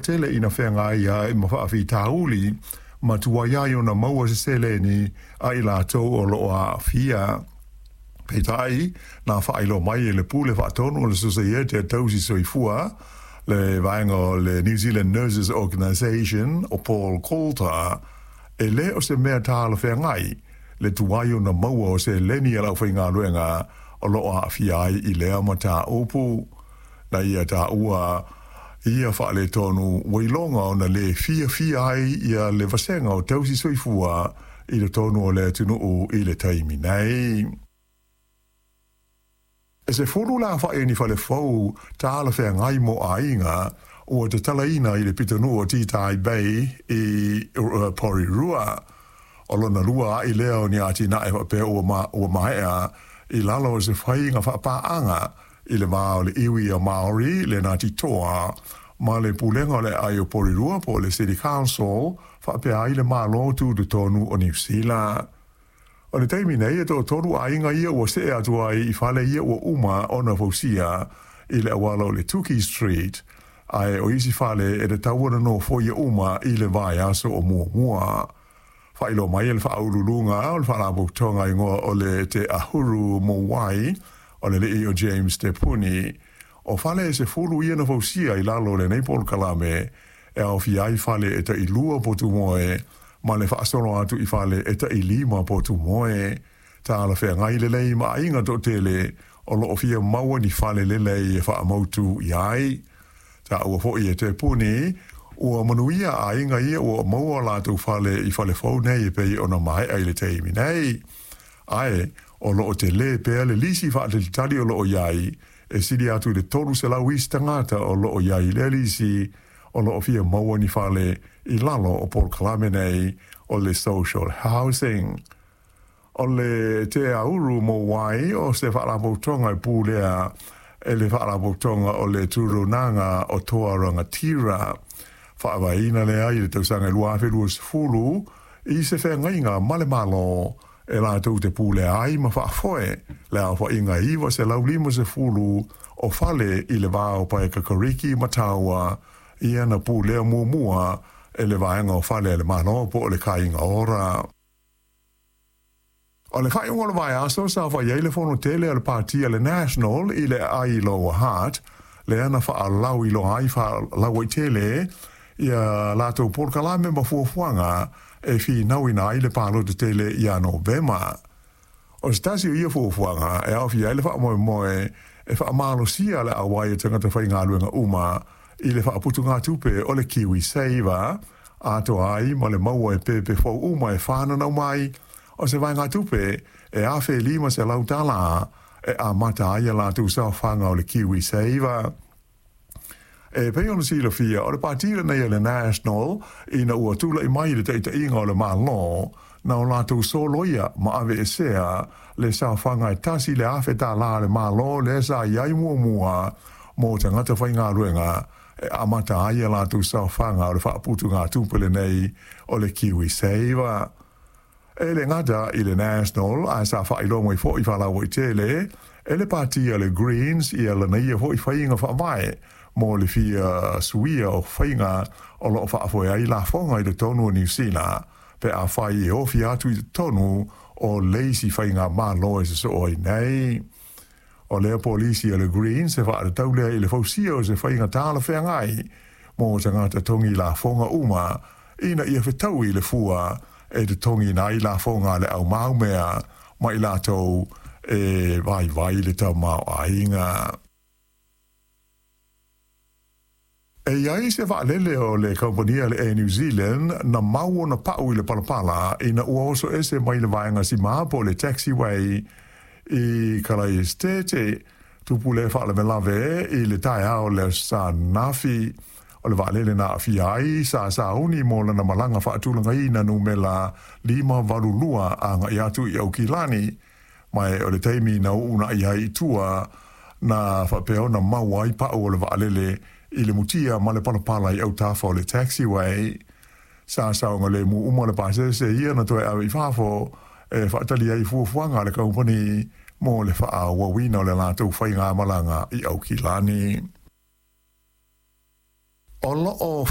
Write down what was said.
tele ina feagai ai ma faafitauli ma tuai ai ona maua se seleni a i latou o loo aafia. Peitai, na faailoa mai e le Pule Faatonu o le Sosaiete a Tausi Soifua, le vaega o le New Zealand Nurses Organisation, o Paul Coulter, e lē o se mea talafeagai le tuai ona maua o seleni a le aufaigaluega o loo aafia ai i lea mataupu. Na ia taua ia faaletonu ua iloga ona lē fiafia ai ia le vasega o tausi soifua i totonu o le atunuu i le taimi nei. E 10 le aofai o ni fale fou talafeagai mo aiga ua tatalaina i le pitonuu o Titahi Bay i Porirua. O lona lua a'i lea o ni atinae faapea ua maea i lalo o se faiga faapaaga i le va o le iwi o Maori le Ngāti Toa ma le Pulega o le Aai o Porirua po o le City Council faapea ai le Malo Tutotonu o Niu Sila. O le taimi nei e toatolu aiga ia ua see atu ai i fale ia ua uma ona fausia i le auala o le Tuki Street, ae o isi fale e tatau ona nofoia uma i le vaiaso o muamua. Faailoa mai e le faauluuluga o le Faalapotopotoga igoa o le Te Ahuru Mōwai o le alii o James Te Puni, o fale e 10 ia na fausia i lalo o lenei polokalame e aofia ai fale e tailua potu moe ma le faasolo atu i fale e tailima potu moe. Talafeagai lelei ma aiga toatele o loo fia maua ni fale lelei e faamautu i ai. Taua foi e Te Puni ua manuia aiga ia ua maua latou fale i fale fou nei e pei ona maea i le taimi nei. Ae o loo telē pea le lisi faatalitali o loo i ai e sili atu i le 300 isi tagata o loo i ai i lea lisi o loo fia maua ni fale i lalo o polokalame nei o le social housing. O le Te Auru Mōwai o se faalapotopotoga e pulea e le faalapotopotoga o le Turunaga o Toa Rangatira. Faavaeina lea i le tausaga 2020 i se feagaiga ma le Malo e latou te pulea ai ma faafoe le aofaiga 950 o fale i le va o Paekakariki ma Taua ia na pulea muamua e le vaega o fale a le Malo po o le Kāinga Ora. O le faaiuga o le vaiaso sa fai ai le fono tele a le pati a le National i le aai i Lower Hutt, lea na faalauiloa ai faalauaitele ia latou polokalame ma fuafuaga e finauina ai le palota tele ia Novema. O se tasi o ia fuafuaga e aofia ai le faamoemoe e faamalosia le auai o tagata faigaluega uma i le faaputugatupe o le Kiwi Saver, atoa ai ma le maua e pepe fou uma e fananau mai o se vaegatupe e $1,500 e amata ai a latou saofaga o le Kiwi Saver. E pei ona silafia, o le pati lenei a le National ina ua tulai mai i le taitaiga o le Malo, na o latou soloia ma aveesea le saofaga e $1,000 a le Malo lea sa i ai muamua mo tagata faigaluega e amata ai a latou saofaga o le faaputugatupe lenei o le Kiwi Saver. E le gata i le National, ae sa faailoa mai foi faalauaitele e le pati a le Greens ia lana ia foi faiga faavae mo le fia suia o faiga o loo faafoe ai lafoga i totonu o Niu Sila pe afai e ofi atu i totonu o le isi faigamalo e sosoo ai nei. O lea polisi a le Greens e faatatau lea i le fausia o se faiga talafeagai mo tagata togi lafoga uma ina ia fetaui le fua e totogiina ai lafoga a le aumaumea ma i latou e vaivai le tamaoaiga. E i ai se vaalele o le kamupani a le Air New Zealand na mau ona pau i le palapala ina ua oso ese mai le vaega sima po o le taxiway i Kalaesetete. Tupu lea faalavelave i le taeao o le Aso Sa ananafi. O le vaalele na aafia ai sa sauni mo lana malaga faatulagaina numela 582 agai atu i Aukilani, ma o le taimi na uuna'i ai i tua na faapea ona maua ai pau o le vaalele i le mutia ma le palapala i autafa o le taxiway. Sa saogalemu uma le pasese ia na toe ave i fafo e faatali ai fuafuaga a le kamupani mo le faaauauina o le latou faigamalaga i Aukilani. O loo